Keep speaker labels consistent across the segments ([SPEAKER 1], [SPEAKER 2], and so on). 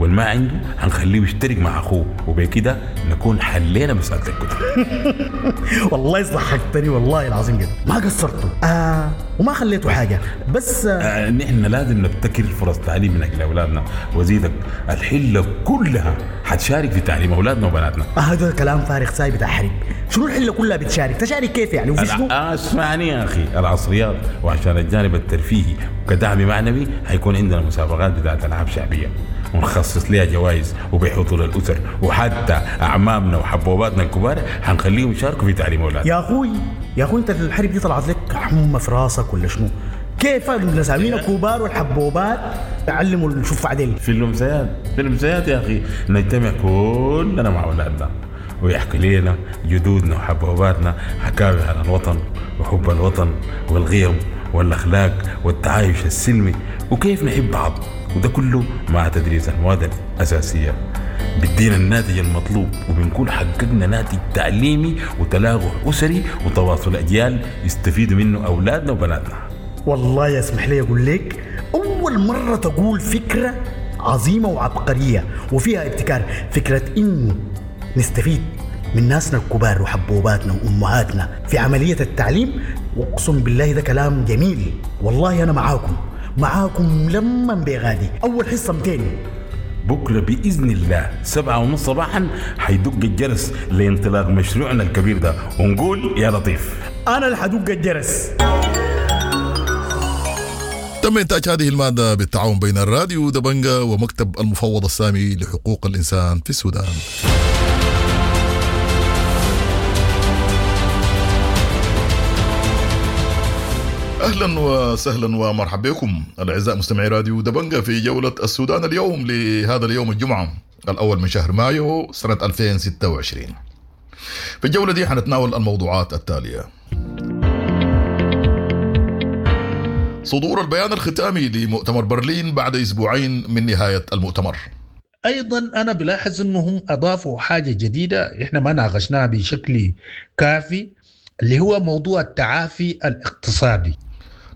[SPEAKER 1] والما عنده هنخليه يشترك مع اخوه، وبكده نكون حلينا مسالة الكتب.
[SPEAKER 2] والله ضحكتني والله العظيم جدا، ما قصرتوا وما خليتوا حاجة. بس
[SPEAKER 1] نحن لازم نبتكر فرص تعليم من اجل اولادنا، وزيدك الحلة كلها حتشارك في تعليم اولادنا وبناتنا.
[SPEAKER 2] هذا كلام فارغ ساي بتاع حرب. شنو الحلة كلها بتشارك؟ تشارك كيف يعني؟ وفي شنو؟
[SPEAKER 1] اسمعني يا اخي، العصريات وعشان الجانب الترفيهي وكدعم معنوي حيكون عندنا مسابقات بتاعت العاب شعبية ونخصص لها جوائز وبحضور الاسر، وحتى اعمامنا وحبوباتنا الكبار حنخليهم يشاركوا في تعليم اولادنا.
[SPEAKER 2] يا اخوي يا اخوي، انت الحرب دي طلعت لك حمى في راسك ولا شنو؟ كيف النساوين الكبار والحبوبات يعلموا الشفع عدل؟
[SPEAKER 1] في الامسيات، في الامسيات يا اخي نجتمع كلنا مع اولادنا ويحكي لنا جدودنا وحبوباتنا حكاوي عن الوطن وحب الوطن والقيم والاخلاق والتعايش السلمي وكيف نحب بعض، وده كله مع تدريس المواد الاساسية بيدينا الناتج المطلوب، وبنكون حققنا ناتج تعليمي وتلاقح اسري وتواصل اجيال يستفيدوا منه اولادنا وبناتنا.
[SPEAKER 2] والله يسمح لي اقول لك، اول مرة تقول فكرة عظيمة وعبقريه وفيها ابتكار، فكرة انه نستفيد من ناسنا الكبار وحبوباتنا وامهاتنا في عملية التعليم. واقسم بالله ده كلام جميل، والله انا معاكم معاكم لما بغادي. اول حصة 200
[SPEAKER 1] بكره باذن الله 7:30 صباحا حيدق الجرس لانطلاق مشروعنا الكبير ده، ونقول يا لطيف.
[SPEAKER 2] انا اللي حدق الجرس.
[SPEAKER 3] تم إنتاج هذه المادة بالتعاون بين الراديو دبنجا ومكتب المفوض السامي لحقوق الإنسان في السودان. أهلا وسهلا ومرحبا بكم الأعزاء مستمعي راديو دبنجا في جولة السودان اليوم لهذا اليوم الجمعة الأول من شهر مايو سنة 2026. في الجولة دي حنتناول الموضوعات التالية: صدور البيان الختامي لمؤتمر برلين بعد أسبوعين من نهاية المؤتمر.
[SPEAKER 4] ايضا انا بلاحظ انهم اضافوا حاجة جديدة احنا ما ناقشناها بشكل كافي، اللي هو موضوع التعافي الاقتصادي.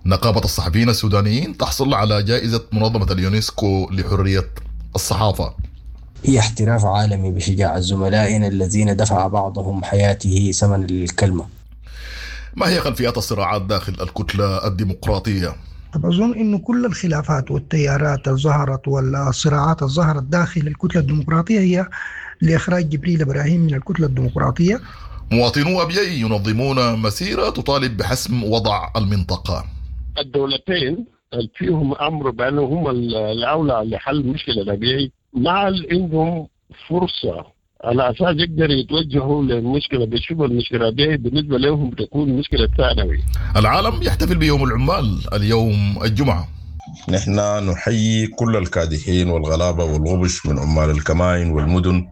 [SPEAKER 3] نقابة الصحفيين السودانيين تحصل على جائزة منظمة اليونسكو لحرية الصحافة.
[SPEAKER 5] هي احتراف عالمي بشجاعة زملائنا الذين دفع بعضهم حياته ثمنا للكلمة.
[SPEAKER 3] ما هي خلفيات الصراعات داخل الكتلة الديمقراطية؟
[SPEAKER 6] أظن أنه كل الخلافات والتيارات اللي ظهرت والصراعات اللي ظهرت داخل الكتلة الديمقراطية هي لإخراج جبريل إبراهيم من الكتلة الديمقراطية.
[SPEAKER 3] مواطنو أبيي ينظمون مسيرة تطالب بحسم وضع المنطقة.
[SPEAKER 7] الدولتين فيهم أمر بأنه هم الأولى لحل مشكلة الأبيي، مع عندهم فرصة على أساس يقدروا يتوجهوا للمشكلة، بيشوفوا المشكلة دي بالنسبة لهم تكون مشكلة ثانوي.
[SPEAKER 3] العالم يحتفل بيوم العمال اليوم الجمعة.
[SPEAKER 8] نحن نحيي كل الكادحين والغلابة والغبش من عمال الكمائن والمدن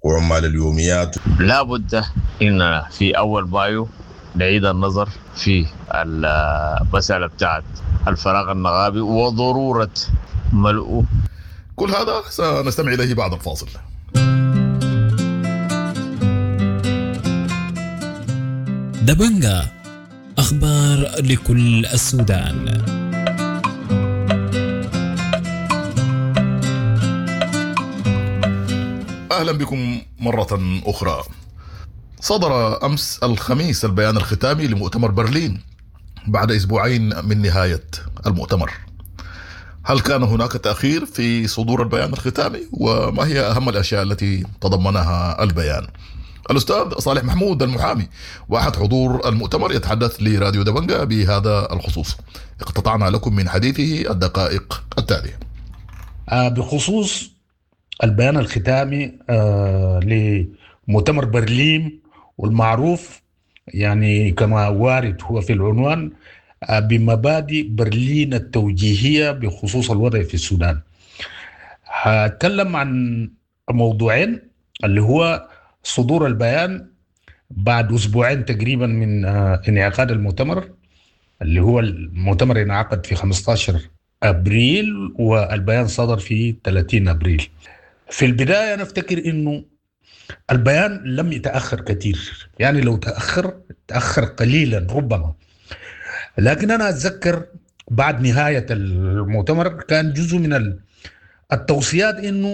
[SPEAKER 8] وعمال اليوميات.
[SPEAKER 9] لابد إن في أول مايو نعيد النظر في المسألة بتاعت الفراغ النغابي وضرورة ملؤه.
[SPEAKER 3] كل هذا سنستمع إليه بعد الفاصل.
[SPEAKER 10] دبنجا، أخبار لكل السودان.
[SPEAKER 3] أهلا بكم مرة أخرى. صدر أمس الخميس البيان الختامي لمؤتمر برلين بعد أسبوعين من نهاية المؤتمر. هل كان هناك تأخير في صدور البيان الختامي؟ وما هي أهم الأشياء التي تضمنها البيان؟ الأستاذ صالح محمود المحامي وأحد حضور المؤتمر يتحدث لراديو دبنجا بهذا الخصوص. اقتطعنا لكم من حديثه الدقائق التالية.
[SPEAKER 4] بخصوص البيان الختامي لمؤتمر برلين والمعروف يعني كما وارد هو في العنوان بمبادئ برلين التوجيهية بخصوص الوضع في السودان. هتكلم عن موضوعين، اللي هو صدور البيان بعد أسبوعين تقريبا من انعقاد المؤتمر، اللي هو المؤتمر انعقد في 15 أبريل والبيان صدر في 30 أبريل. في البداية أنا أفتكر أنه البيان لم يتأخر كثير، يعني لو تأخر تأخر قليلا ربما، لكن أنا أتذكر بعد نهاية المؤتمر كان جزء من التوصيات أنه